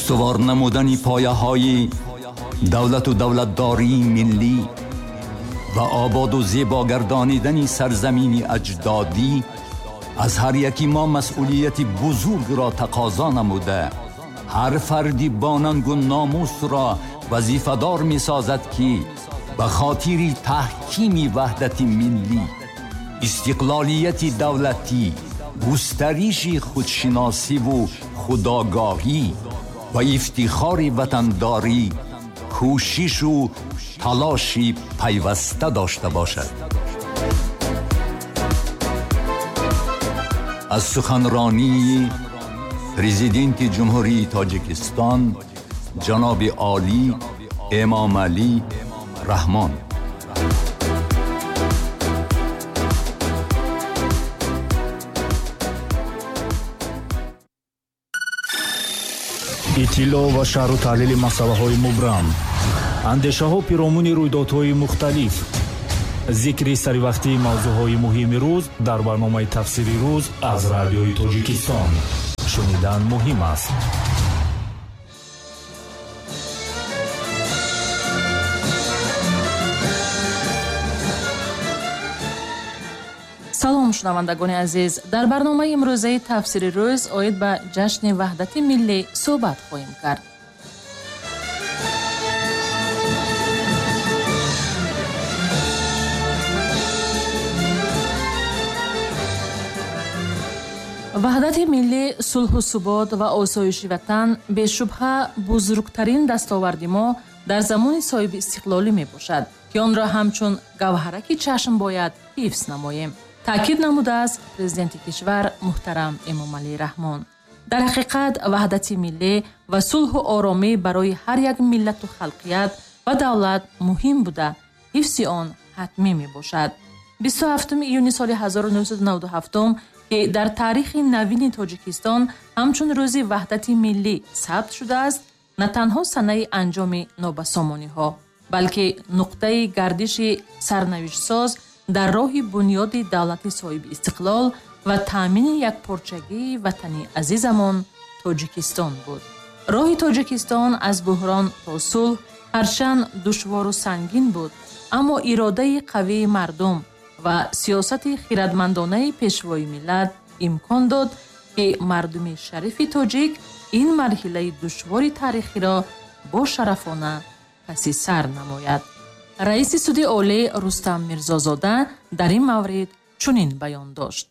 Устувор намудани пояҳои давлату давлатдории миллӣ ва ободу зебо гардонидани сарзамини аҷдодӣ аз ҳар яки мо масъулияти бузургро тақозо намуда, ҳар фарди бо нангу номусро вазифадор месозад, ки ба хотири таҳкими ваҳдати миллӣ, истиқлолияти давлатӣ, густариши худшиносиву худогоҳӣ ва ифтихори ватандорӣ кӯшишу талоши пайваста дошта бошад. Аз суханронии Президенти Ҷумҳурии Тоҷикистон ҷаноби олӣ Эмомалӣ Раҳмон. Иттилоъ ва шарҳу таҳлили масъалаҳои мубрам, андешаҳо пиромуни рӯйдодҳои мухталиф, зикри саривақтии мавзӯъҳои муҳими рӯз дар барномаи «Тафсири рӯз» аз Радиои Тоҷикистон. Шунидан муҳим аст. Салом, шунавандагони азиз. Дар барномаи имрӯзаи «Тафсири рӯз» оид ба ҷашни ваҳдати миллӣ суҳбат хоҳем кард. Ваҳдати миллӣ, сулҳу субот ва осоиши ватан бешубҳа бузургтарин дастоварди мо дар замони соҳиби истиқлолӣ мебошад, ки онро ҳамчун гавҳараки чашм бояд ҳифз намоем, таъкид намудааст президенти кишвар муҳтарам Эмомалӣ Раҳмон. Дар ҳақиқат, ваҳдати миллӣ ва сулҳу оромӣ барои ҳар як миллату халқият ва давлат муҳим буда, ҳифзи он ҳатмӣ мебошад. 27 июни соли 1997, ки дар таърихи навини Тоҷикистон ҳамчун рӯзи ваҳдати миллӣ сабт шудааст, на танҳо санаи анҷоми нобасомониҳо, балки нуқтаи гардиши сарнавиштсоз дар роҳи бунёди давлати соҳиби истиқлол ва таъмини якпорчагии ватани азизамон Тоҷикистон буд. Роҳи Тоҷикистон аз буҳрон то сулҳ ҳарчанд душвору сангин буд, аммо иродаи қавии мардум ва сиёсати хирадмандонаи пешвои миллат имкон дод, ки мардуми шарифи тоҷик ин марҳилаи душвори таърихиро бошарафона паси сар намояд. Раиси суди олӣ Рустам Мирзозода дар ин маврид чунин баён дошт.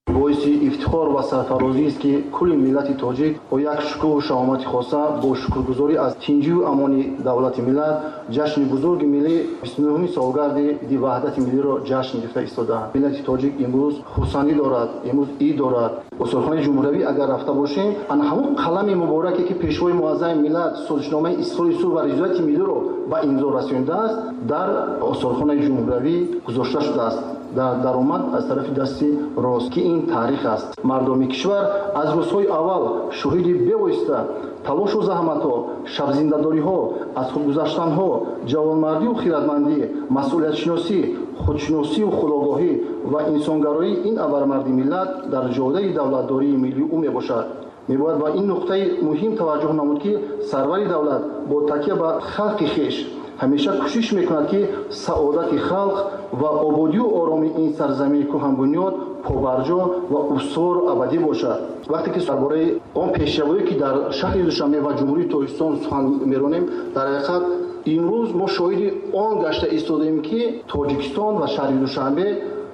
Боиси ифтихор ва сарфарозист, ки кулли миллати тоҷик бо як шукӯҳу шаҳомати хоса, бо шукргузорӣ аз тинҷию амони давлати миллат, ҷашни бузурги миллӣ, 29-уми солгарди иди ваҳдати миллиро ҷашн гирифта истодаанд. Миллати тоҷик имрӯз хурсандӣ дорад, имрӯз ид дорад. Осорхонаи ҷумҳуриявӣ агар рафта бошем, ана ҳамон қалами мубораке, ки пешвои муаззами миллат созишномаи истиқлоли сулҳ ва ризояти миллиро ба имзо расондааст, дар осорхонаи ҷумҳуриявӣ гузошта шудааст дар даромад аз тарафи дасти рост, ки ин таърих аст. Мардуми кишвар аз рӯзҳои аввал шоҳиди бевосита талошу заҳматҳо, шабзиндадориҳо, аз худгузаштанҳо, ҷавонмардию хирадмандӣ, масъулиятшиносӣ, худшиносию худогоҳӣ ва инсонгароии ин абармарди миллат дар ҷодаи давлатдории миллии ӯ мебошад. Мебояд ба ин нуқтаи муҳим таваҷҷӯҳ намуд, ки сарвари давлат бо такя ба халқи хеш ҳамеша кӯшиш мекунад, ки саодати халқ ва ободию оромии ин сарзамини кӯҳанбунёд побарҷо ва устувору абадӣ бошад. Вақте ки дар бораи он пешравие, ки дар шаҳри Душанбе ва Ҷумҳурии Тоҷикистон сухан меронем, дар ҳақиқат имрӯз мо шоҳиди он гашта истодаем, ки Тоҷикистон ва шаҳри Душанбе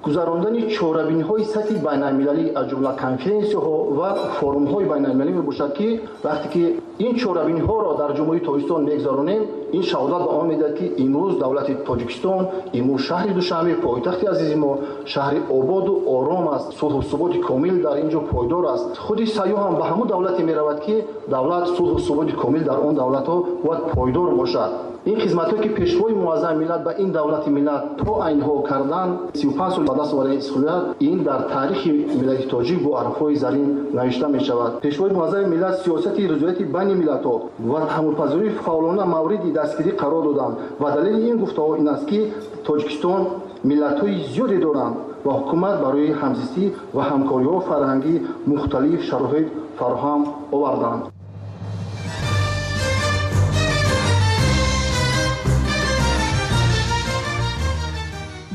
гузарондани чорабиниҳои сатҳи байналмилалӣ, аз ҷумла конференсияҳо ва форумҳои байналмилалӣ мебошад, ки вақте ки ин чорабиниҳоро дар Ҷумҳурии Тоҷикистон мегузаронем, ин шаҳодат ба он медиҳад, ки имрӯз давлати Тоҷикистон, имрӯз шаҳри Душанбе, пойтахти азизи мо, шаҳри ободу ором аст, сулҳу суботи комил дар ин ҷо пойдор аст. Худи сайёҳ ҳам ба ҳамон давлате меравад, ки давлат сулҳу суботи комил дар он давлатҳо бояд пойдор бошад. Ин хизматҳое, ки пешвои муаззами миллат ба ин давлати миллат то айнҳо кардан, 35 сол ба даст овардани истиқлолият, ин дар таърихи миллати тоҷик бо ҳарфҳои зарин навишта мешавад. Пешвои муаззами миллат сиёсати ризояти байни миллатҳо ва таҳаммулпазирии фаъолона мавриди дастгирӣ қарор доданд ва далели ин гуфтаҳо ин аст, ки Тоҷикистон миллатҳои зиёде доранд ва ҳукумат барои ҳамзистӣ ва ҳамкориҳо фарҳангии мухталиф шароит фароҳам оварданд.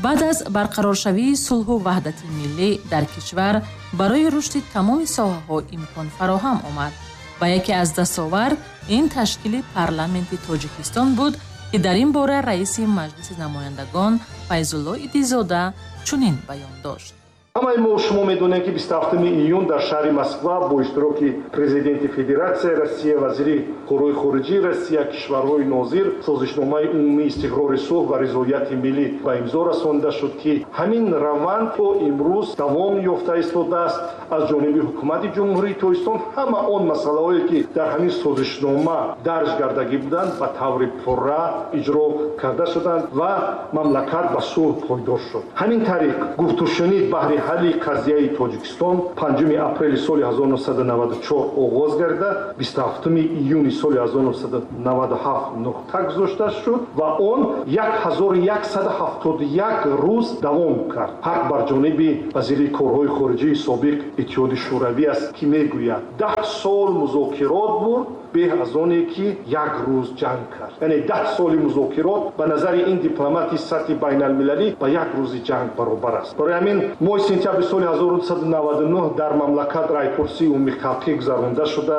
Баъд аз барқароршавии сулҳу ваҳдати миллӣ дар кишвар барои рушди тамоми соҳаҳо имкон фароҳам омад ва яке аз дастовард ин ташкили парламенти Тоҷикистон буд, ки дар ин бора раиси Маҷлиси намояндагон Файзулло Идизода чунин баён дошт. Ҳамаи мо шумо медонем, ки 27 июн дар шаҳри Москва бо иштироки президенти Федератсияи Россия, вазири корҳои хориҷии Россия, кишварҳои нозир созишномаи умумии истиқрори сулҳ ва ризояти миллӣ ба имзо расонида шуд, ки ҳамин раванд то имрӯз давом ёфта истодааст. Аз ҷониби ҳукумати Ҷумҳурии Тоҷикистон ҳама он масъалаҳое, ки дар ҳамин созишнома дарҷ гардагӣ буданд, ба таври пурра иҷро карда шуданд ва мамлакат ба сулҳ пойдор шуд. Ҳамин тариқ гуфтушунид баҳри ҳалли қазияи Тоҷикистон 5 апрели соли 1994 оғоз гарда, 27 июни соли 1997 нуқта гузошта шуд ва он 1171 рӯз давом кард. Ҳақ бар ҷониби вазири корҳои хориҷии собиқ Иттиҳоди Шӯравӣ аст, ки мегӯяд 10 сол музокирот бурд, беҳ аз оне ки як рӯз ҷанг кард. Яъне 10 соли музокирот ба назари ин дипломати сатҳи байналмилалӣ ба як рӯзи ҷанг баробар аст. Барои ҳамин моҳи сентябри соли 1999 дар мамлакат райпурсии умумихалқӣ гузаронда шуда,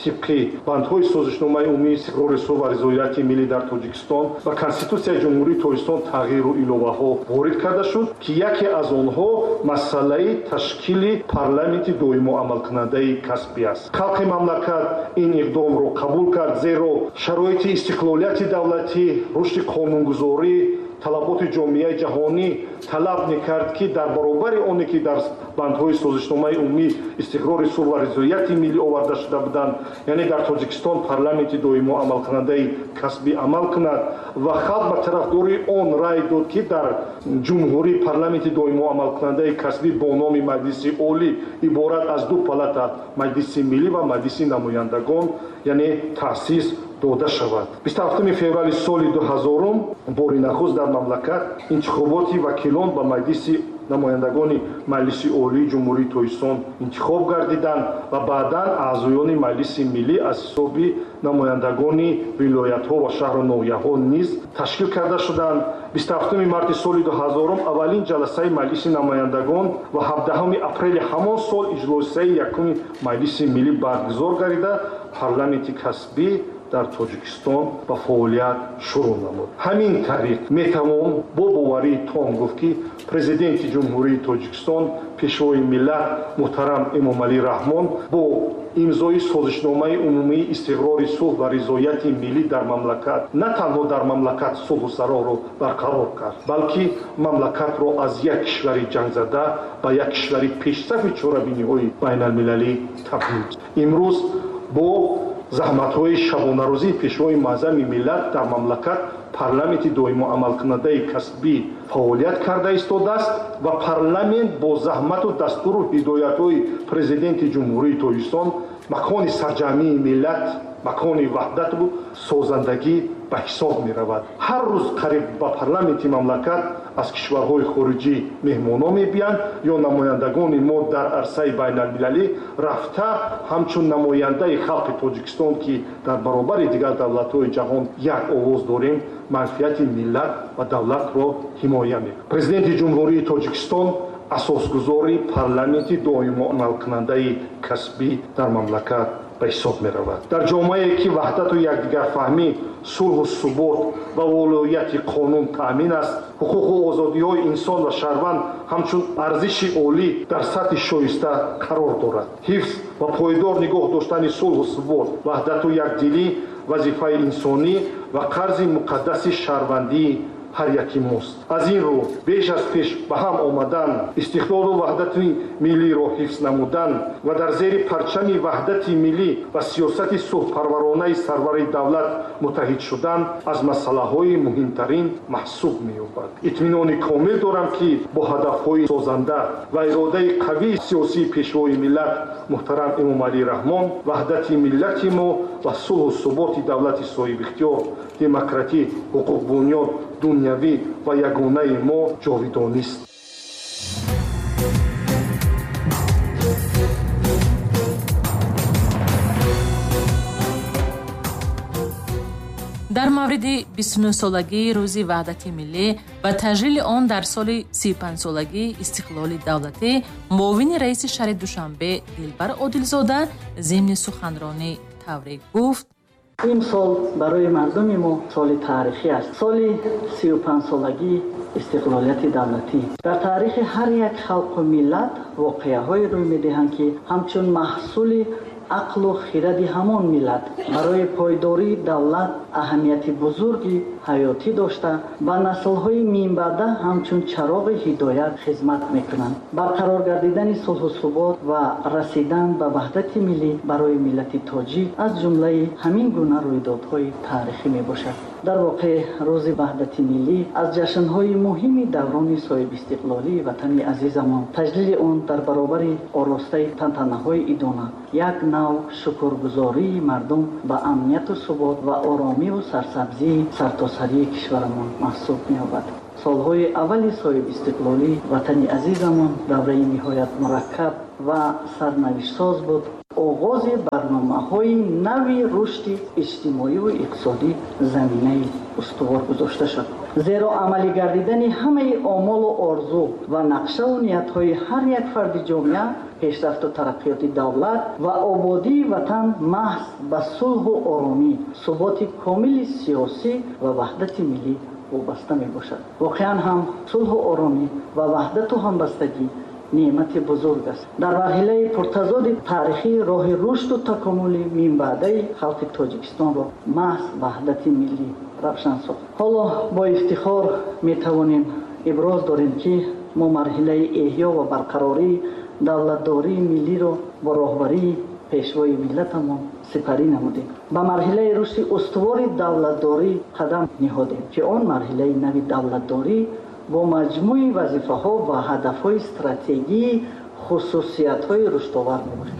тибқи бандҳои созишномаи умумии истиқрори сулҳ ва ризояти миллӣ дар Тоҷикистон ва Конститутсияи Ҷумҳурии Тоҷикистон тағйиру иловаҳо ворид карда шуд, ки яке аз онҳо масъалаи ташкили парламенти доимо амалкунандаи касбӣ аст. Халқи мамлакат ин иқдомро қабул кард, зеро шароити истиқлолияти давлатӣ, рушди қонунгузорӣ, талаботи ҷомеаи ҷаҳонӣ талаб мекард, ки дар баробари оне ки дар бандҳои созишномаи умумӣ истиқрори сулҳ ва ризояти миллӣ оварда шуда буданд, яъне дар Тоҷикистон парламенти доимо амалкунандаи касбӣ амал кунад ва халқ ба тарафдории он рай дод, ки дар ҷумҳурӣ парламенти доимо амалкунандаи касбӣ бо номи Маҷлиси Олӣ иборат аз ду палата, Маҷлиси миллӣ ва Маҷлиси намояндагон, яъне таъсис дода шавад. 27 феврали соли 2000 бори нахуст дар мамлакат интихоботи вакилон ба Маҷлиси намояндагони Маҷлиси Олии Ҷумҳурии Тоҷикистон интихоб гардиданд ва баъдан аъзоёни Маҷлиси миллӣ аз ҳисоби намояндагони вилоятҳо ва шаҳру ноҳияҳо низ ташкил карда шуданд. 27 марти соли 2000 аввалин ҷаласаи Маҷлиси намояндагон ва 17 апрели ҳамон сол иҷлосияи якуми Маҷлиси миллӣ баргузор гардида, парламенти касбӣ дар Тоҷикистон ба фаъолият шурӯъ намуд. Ҳамин тариқ метавон бо боварии том гуфт, ки президенти Ҷумҳурии Тоҷикистон, пешвои миллат муҳтарам Эмомалӣ Раҳмон бо имзои созишномаи умумии истиқрори сулҳ ва ризояти миллӣ дар мамлакат на танҳо дар мамлакат сулҳу сароҳро барқарор кард, балки мамлакатро аз як кишвари ҷангзада ба як кишвари пешсафи чорабиниҳои байналмилалӣ табдил. Имрӯз бо заҳматҳои шабонарӯзии пешвои муаззами миллат дар мамлакат парламенти доимо амалкунандаи касбӣ фаъолият карда истодааст ва парламент бо заҳмату дастуру ҳидоятҳои президенти Ҷумҳурии Тоҷикистон макони сарҷамъии миллат, макони ваҳдату созандагӣ ба ҳисоб меравад. Ҳар рӯз қариб ба парламенти мамлакат аз кишварҳои хориҷӣ меҳмонҳо мебиянд ё намояндагони мо дар арсаи байналмилалӣ рафта ҳамчун намояндаи халқи Тоҷикистон, ки дар баробари дигар давлатҳои ҷаҳон як овоз дорем, манфиати миллат ва давлатро ҳимоя мекунад. Президенти Ҷумҳурии Тоҷикистон асосгузори парламенти доимо амалкунандаи касбӣ дар мамлакат ба ҳисоб меравад. Дар ҷомеае ки ваҳдату якдигарфаҳмӣ, сулҳу субот ва волояти қонун таъмин аст, ҳуқуқу озодиҳои инсон ва шаҳрванд ҳамчун арзиши олӣ дар сатҳи шоиста қарор дорад. Ҳифз ва пойдор нигоҳ доштани сулҳу субот, ваҳдату якдилӣ вазифаи инсонӣ ва қарзи муқаддаси шаҳрвандии ҳар яки мост. Аз ин рӯ беш аз пеш ба ҳам омадан, истиқлолу ваҳдати миллиро ҳифз намудан ва дар зери парчами ваҳдати миллӣ ва сиёсати сулҳпарваронаи сарвари давлат муттаҳид шудан аз масъалаҳои муҳимтарин маҳсуб меёбад. Итминони комил дорам, ки бо ҳадафҳои созанда ва иродаи қавии сиёсии пешвои миллат муҳтарам Эмомалӣ Раҳмон ваҳдати миллати мо ва сулҳу суботи давлати соҳибихтиёр, демократӣ, ҳуқуқбунёд, дунявӣ ва ягонаи мо ҷовидонист. Дар мавриди 29-солагии рӯзи ваҳдати миллӣ ва таҷлили он дар соли 35-солагии истиқлоли давлатӣ муовини раиси шаҳри Душанбе Дилбар Одилзода зимни суханронӣ тавре гуфт: Ин сол барои мардуми мо соли таърихӣ аст. Соли 35-солагии истиқлолияти давлатӣ. Дар таърихи ҳар як халқу миллат воқеаҳое рӯй медиҳанд, ки ҳамчун маҳсули ақлу хиради ҳамон миллат барои пойдории давлат аҳамияти бузурги ҳаётӣ дошта, ба наслҳои минбаъда ҳамчун чароғи ҳидоят хизмат мекунанд. Барқарор гардидани сулҳу субот ва расидан ба ваҳдати миллӣ барои миллати тоҷик аз ҷумлаи ҳамин гуна рӯйдодҳои таърихӣ мебошад. Дар воқеъ, рӯзи ваҳдати миллӣ аз ҷашнҳои муҳими даврони соҳибистиқлолии ватани азизамон, таҷлили он дар баробари оростаи тантанаҳои идона як нав шукргузории мардум ба амнияту субот ва оромиву сарсабзии сартосарии кишварамон маҳсуб меёбад. Солҳои аввали соҳибистиқлолӣ ватани азизамон давраи ниҳоят мураккаб ва сарнавиштсоз буд. Оғози барномаҳои нави рушди иҷтимоиву иқтисодӣ заминаи устувор гузошта шуд. Зеро амалӣ гардидани ҳамаи омолу орзу ва нақшаву ниятҳои ҳар як фарди ҷомеа, пешрафту тараққиёти давлат ва ободии ватан маҳз ба сулҳу оромӣ, суботи комили сиёсӣ ва ваҳдати миллӣ вобаста мебошад. Воқеан ҳам сулҳу оромӣ ва ваҳдату ҳамбастагӣ неъмати бузург аст. Дар марҳилаи пуртазоди таърихӣ роҳи рушду такомули минбаъдаи халқи Тоҷикистонро маҳз ваҳдати миллӣ равшан сохт. Ҳоло бо ифтихор метавонем иброз дорем, ки мо марҳилаи эҳё ва барқарории давлатдории миллиро бо роҳбарии пешвои миллатамон сипарӣ намудем. Ба марҳилаи рушди устувори давлатдорӣ қадам ниҳодем, ки он марҳилаи нави давлатдорӣ бо маҷмӯи вазифаҳо ва ҳадафҳои стратегии хусусиятҳои рушдовар мебошад.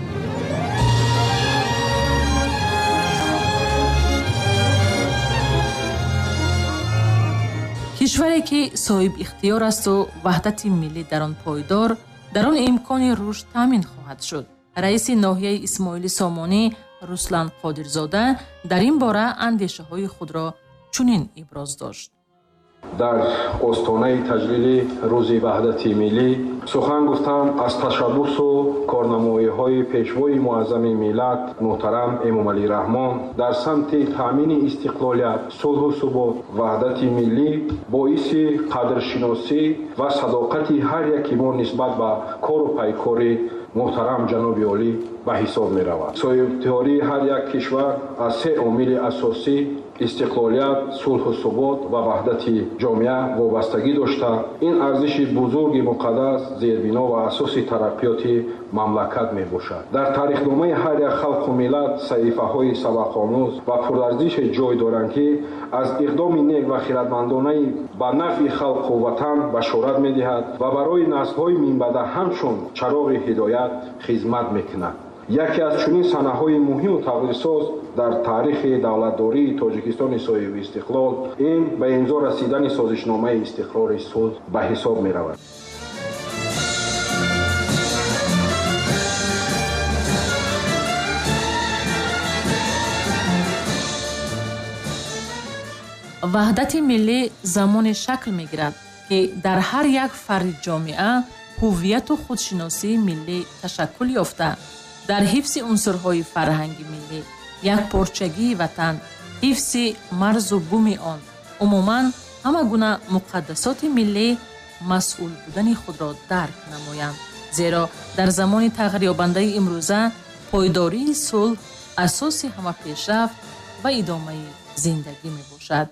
Кишваре ки соҳибихтиёр асту ваҳдати миллӣ дар он пойдор, дар он имкони рушд таъмин хоҳад шуд. Раиси ноҳияи Исмоили Сомонӣ Руслан Қодирзода дар ин бора андешаҳои худро чунин иброз дошт. Дар остонаи таҷлили рӯзи ваҳдати миллӣ сухан гуфтан аз ташаббусу корнамоиҳои пешвои муаззами миллат муҳтарам Эмомалӣ Раҳмон дар самти таъмини истиқлолият, сулҳу субот, ваҳдати миллӣ боиси қадршиносӣ ва садоқати ҳар яки мо нисбат ба кору пайкори муҳтарам ҷаноби олӣ ба ҳисоб меравад. Соҳибихтиёрии ҳар як кишвар аз се омили асосӣ истиқлолият, сулҳу субот ва ваҳдати ҷомеа вобастагӣ дошта, ин арзиши бузурги муқаддас зербино ва асоси тараққиёти мамлакат мебошад. Дар таърихномаи ҳар як халқу миллат саҳифаҳои сабақомӯз ва пурарзише ҷой доранд, ки аз иқдоми нек ва хиратмандонаи ба нафъи халқу ватан башорат медиҳад ва барои наслҳои минбаъда ҳамчун чароғи ҳидоят хизмат мекунад. Яке аз чунин санаҳои муҳиму тақдирсоз дар таърихи давлатдории Тоҷикистони соҳибистиқлол ин ба имзо расидани созишномаи истиқрори сулҳ ба ҳисоб меравад. Ваҳдати миллӣ замоне шакл мегирад, ки дар ҳар як фарди ҷомеа ҳуввияту худшиносии миллӣ ташаккул ёфта, дар ҳифзи унсурҳои фарҳанги миллӣ, якпорчагии ватан, ҳифзи марзу буми он, умуман ҳама гуна муқаддасоти миллӣ масъул будани худро дарк намоянд. Зеро дар замони тағйирёбандаи имрӯза пойдории сулҳ асоси ҳама пешрафт ва идомаи зиндагӣ мебошад.